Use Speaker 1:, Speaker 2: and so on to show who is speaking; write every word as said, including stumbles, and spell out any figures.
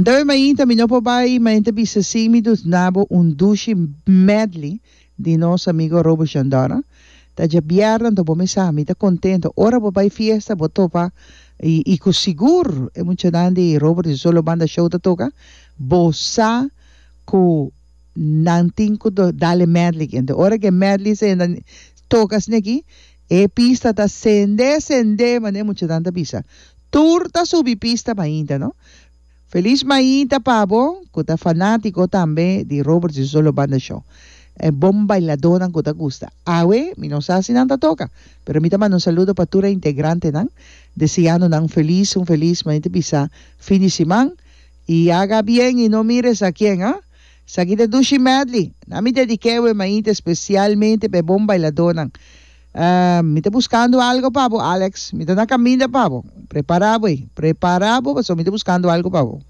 Speaker 1: Anto e mainta mi no por bai mainta bisa sin mi duna bo un dushi medley di nos amigo Robo Shandora. Ta djabièrnè anto bo mesa mi ta contento. Ora bo bai fiesta bo topa y, y cu sigur e muchanan di Robert y Solo Banda Show ta toca, bo sa cu nan tin cu dal e medley. Anto ora cu e medley senda toca asina aki, e pista ta sende sende, manera muchanan ta bisa. Tur ta subi pista mainta, no? Feliz mainta pa bo, cu ta fanatico tambe di Robert y Solo Banda Show. E bon bailadornan cu ta gusta. Awe, mi no sa si nan ta toca, pero mi ta manda un saludo pa tur e integrantenan, deseando nan feliz, un feliz mainta bisa fin di siman, y haga bien y no mires a quién, ah? Esaki ta dushi medley. Na mi dedik'é e mainta especialmente pa bon bailadornan. Uh, mi ta buscando algo pa bo, Alex. Mi ta na caminda pa bo. Prepara bo, prepara bo, paso mi ta buscando algo pa bo.